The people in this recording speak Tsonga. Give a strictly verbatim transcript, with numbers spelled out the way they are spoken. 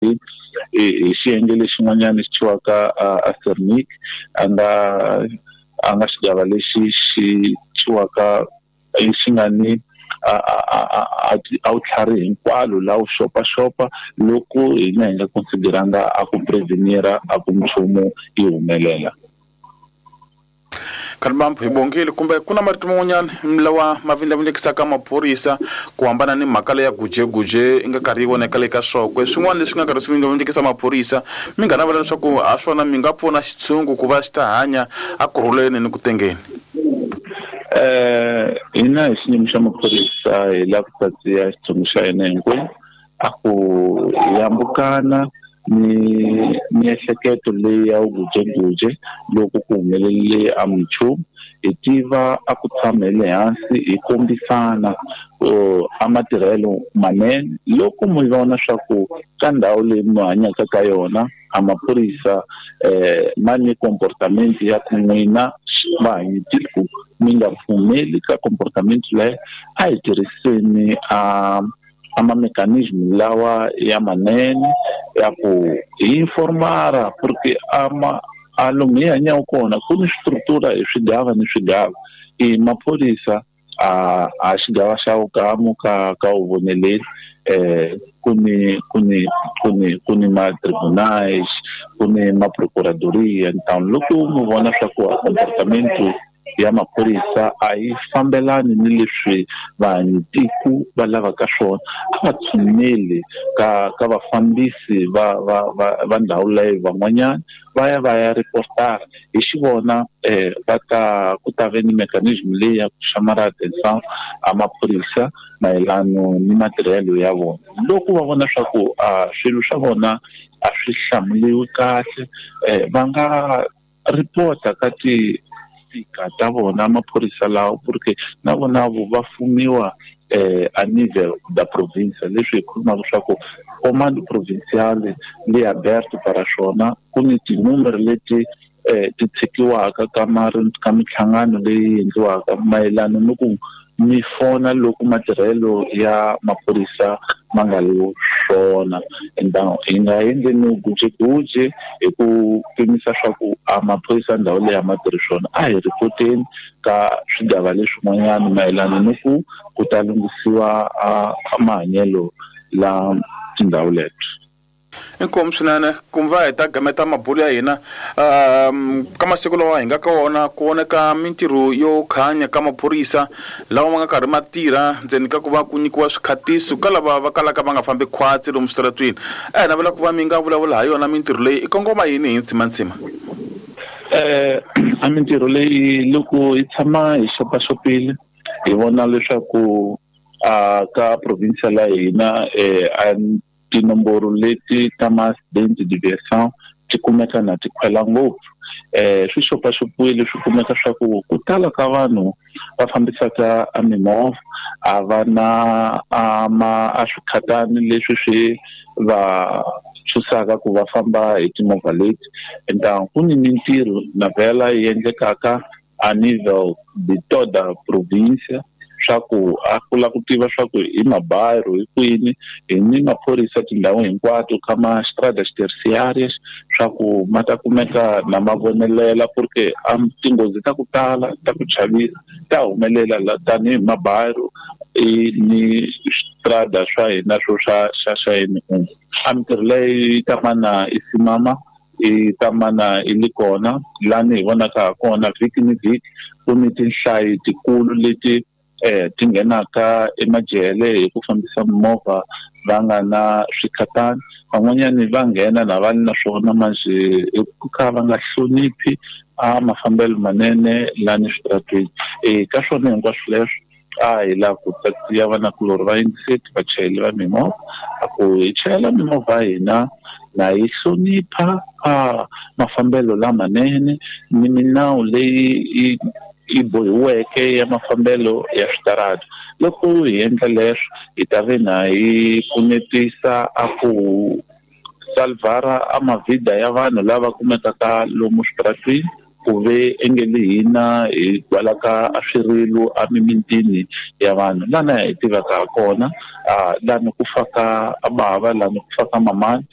Hi xiyenge lexin'wanyana xi thyiwaka a Sernic, a nga a nga xigava lexi xi thyiwaka xi nga ni a a a a vutlhari hinkwalo la wu xopaxopa loko hina hi nga consideranga a ku prevenir a ku nchumu yi humelela. Khalibambu hi bongile kumbe ku na marito man'wanyana lawa ma vindlavindlekisaka maphorisa ku hambana ni mhaka leya gujeguje i nga karhi yi vonaka le ka swokwe swin'wana leswi nga karhi swi vindlavindlekisa maphorisa mi nga navela leswaku ha swona mi nga pfuna xitshungu ku va xi ta hanya a kurhuleni ni ku tengeni? Eh hina hi xiyimo xa maphorisa hi lava ku tatiya xitshungu xa hina hinkwenu a ku hambukana ni miehleketo leyi ya vugujeguje loko ku humelele a minchumu. Hi tiva a ku tshama hi le hansi hi kombisana a matirhelo manene loko mi vona swa ku ka ndhawu leyi mi hanyaka ka yona a maphorisa eh ma ni comportament ya ku n'wina vahanyitiko mi nga pfumeli ka comportament leyi, a hi tirhiseni a a ma-mechanism lawa ya manene ya ku hi informara porque ama a lomu hi hanyaka kona ku ni swistructura hi swigava ni swigava. I maphorisa a a xigava xa vukamu ka ka vuvoneleli eh ku ni ku ni ku ni ku ni ma-tribunais ku ni ma-procuradoria ntown. Loko mi vona swa ku comportamento ya maphorisa a yi fambelani ni leswi vanhu va lavaka swona, a va tshuneli ka ka vafambisi va va va va ndhawu leyi van'wanyana va ya va ya reportara hi xivona eh va ta ku ta ve ni mechanism leyi ya ku xamara attention a maphorisa mayelano ni matirhelo ya vona. Loko va vona swa ku a swilo swa vona a swi hlamuliwi kahle eh va nga reporta ka ti tika ta vona maphorisa lawa porque na vona vo va fumiwa eh a nível da província. Leswi hi khulumaka swa ku comando provincial li aberto para swona ku ni tinumero leti eh ti tshikiwaka ka ka minhlangano leyi endliwaka mayelana ni ku mi fona loko matirhelo ya maphorisa ma nga ri swona. Enda hi nga endleni gujeguje hi ku pimisa swa ku a maphorisa ndhawu leyi a ma tirhi swona, a hi ripoteni ka swigava leswin'wanyana mayelana ni ku ku ta lunghisiwa a mahanyelo la tindhawu leto. Inkomu swinene ku va hi ta gameta mabulo ya hina um ka masiku lawa hi nga ka wona ku voneka mintirho yo khanya ka maphorisa lawa ma nga karhi ma tirha ndzeni ka ku va ku nyikiwa swikhatiso ka lava va kalaka va nga fambi khwatsi lomu switaratwini. A hi navela ku va mi nga vulavula ha yona mintirho leyi i kongoma yini hi ntsimantsima? Eh a mintirho leyi loko hi tshama hi xopaxopile hi vona leswaku a ka provincia la hina eh a tinomboro leti ta ma-accident deviation ti kumeka na ti khwela ngopfu. Eh swi xopaxopiwile swi kumeka swa ku ku tala ka vanhu va fambisaka a mimovha a va na a ma a swikhatani leswi swi va tshusaka ku va famba hi timovha leti. Enta ku ni mintirho na vhela yi endlekaka a nível de toda província swa ku a ku lava ku tiva swa ku hi mabayiro hi kwini hi ni maphorisa tindhawu hinkwato ka ma-estradas terciárias swa ku ma ta kumeka na ma vonelela porque a tinghozi ta ku tala ta ku chavisa ta humelela la tanihi mabayiro i ni strada swa hina swo swa xa xa N un. A mintirho leyi yi ta mana i simama i ta mana i li kona lani hi vonaka ha kona vhiki ni vhiki ku ni tinhlayo tikulu leti eh ti nghenaka emajele hi ku fambisa mimovha va nga na swikhatani. Van'wanyani va nghena na va na swona manjhe hi ku ka va nga hloniphi a mafambelo manene lani switaratweni. E ka swona hinkwaswo leswo a hi lava ku tatiya vanakulorhi va yingiseti vachayeri va mimovha a ku hi chayela mimovha ya hina na yi hlonipha a mafambelo lamanene ni minawu leyi yi yi bohiweke ya mafambelo ya switarata. Loko hi endla leswo hi ta ve na hi pfunetisa a ku salvara a mavhida ya vanhu lava kumekaka lomu switaratwini Ku ve engele hina hi gwalaka a swirilo a mimitini ya vanhu lana hi tivaka ha kona, lani ku faka a bava, lani ku faka mamani.